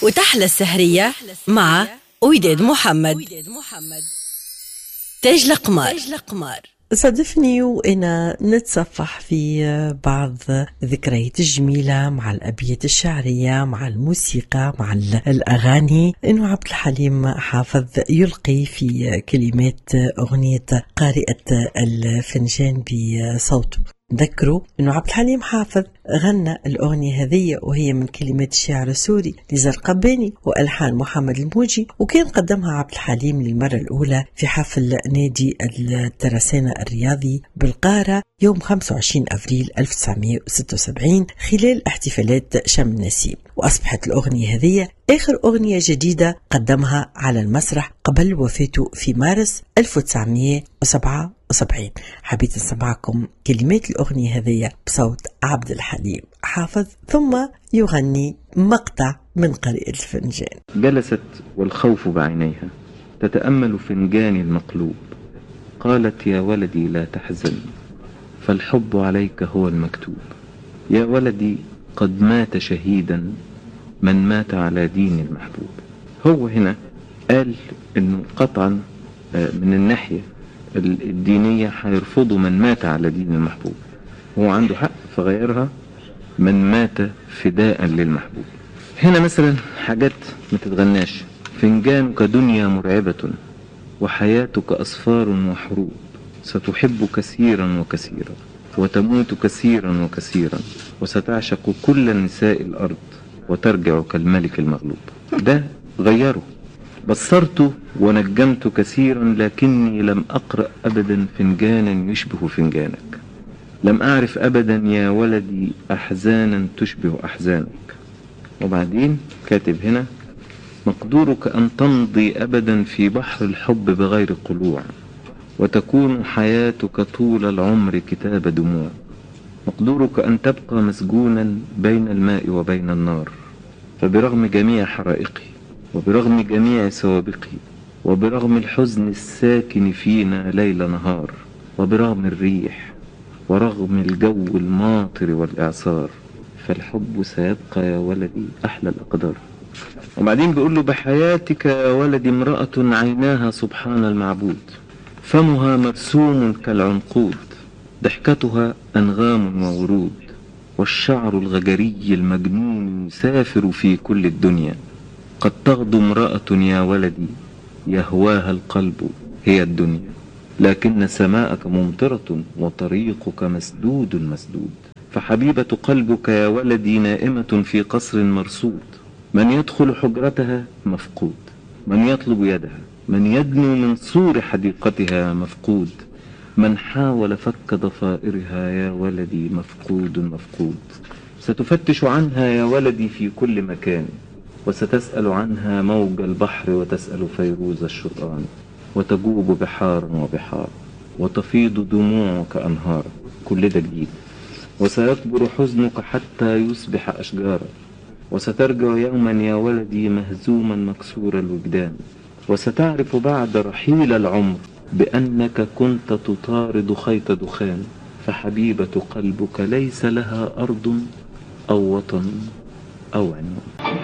وتحلى السهرية مع وداد محمد. تاج القمار. صادفني وأنا نتصفح في بعض ذكريات الجميلة مع الأبيات الشعرية، مع الموسيقى، مع الأغاني، إنه عبد الحليم حافظ يلقي في كلمات أغنية قارئة الفنجان بصوته. ذكروا أنه عبد الحليم حافظ غنى الأغنية هذه وهي من كلمات الشاعر السوري نزار قباني وألحان محمد الموجي، وكان قدمها عبد الحليم للمرة الأولى في حفل نادي الترسانة الرياضي بالقاهرة يوم 25 أفريل 1976 خلال احتفالات شم النسيم. وأصبحت الأغنية هذه آخر أغنية جديدة قدمها على المسرح قبل وفاته في مارس 1977. حبيت نسمعكم كلمات الأغنية هذه بصوت عبد الحليم حافظ، ثم يغني مقطع من قارئة الفنجان. جلست والخوف بعينيها تتأمل فنجاني المقلوب، قالت يا ولدي لا تحزن فالحب عليك هو المكتوب، يا ولدي قد مات شهيدا من مات على دين المحبوب. هو هنا قال انه قطعا من الناحية الدينية هيرفضوا من مات على دين المحبوب، هو عنده حق فغيرها من مات فداء للمحبوب. هنا مثلا حاجات ما تتغناش: فنجانك دنيا مرعبة وحياتك أصفار وحروب، ستحب كثيرا وكثيرا وتموت كثيرا وكثيرا، وستعشق كل نساء الأرض وترجع كالملك المغلوب. ده غيره. بصرت ونجمت كثيرا لكني لم أقرأ أبدا فنجانا يشبه فنجانك، لم أعرف أبدا يا ولدي أحزانا تشبه أحزانك. وبعدين كاتب هنا: مقدورك أن تمضي أبدا في بحر الحب بغير قلوع، وتكون حياتك طول العمر كتاب دموع، مقدورك أن تبقى مسجونا بين الماء وبين النار، فبرغم جميع حرائقي وبرغم جميع سوابقي وبرغم الحزن الساكن فينا ليل نهار، وبرغم الريح ورغم الجو الماطر والإعصار، فالحب سيبقى يا ولدي أحلى الأقدار. وبعدين بيقول له: بحياتك يا ولدي امرأة عيناها سبحان المعبود، فمها مرسوم كالعنقود، ضحكتها أنغام وورود، والشعر الغجري المجنون يسافر في كل الدنيا، قد تغدو امرأة يا ولدي يهواها القلب هي الدنيا، لكن سماءك ممطرة وطريقك مسدود مسدود، فحبيبة قلبك يا ولدي نائمة في قصر مرصود، من يدخل حجرتها مفقود، من يطلب يدها، من يدنو من سور حديقتها مفقود، من حاول فك ضفائرها يا ولدي مفقود مفقود، ستفتش عنها يا ولدي في كل مكان، وستسأل عنها موج البحر وتسأل فيروز الشطآن، وتجوب بحارا وبحار، وتفيض دموعك أنهارا. كل ده جديد. وسيكبر حزنك حتى يصبح أشجارا، وسترجع يوما يا ولدي مهزوما مكسور الوجدان، وستعرف بعد رحيل العمر بأنك كنت تطارد خيط دخان، فحبيبة قلبك ليس لها أرض أو وطن أو عنوان.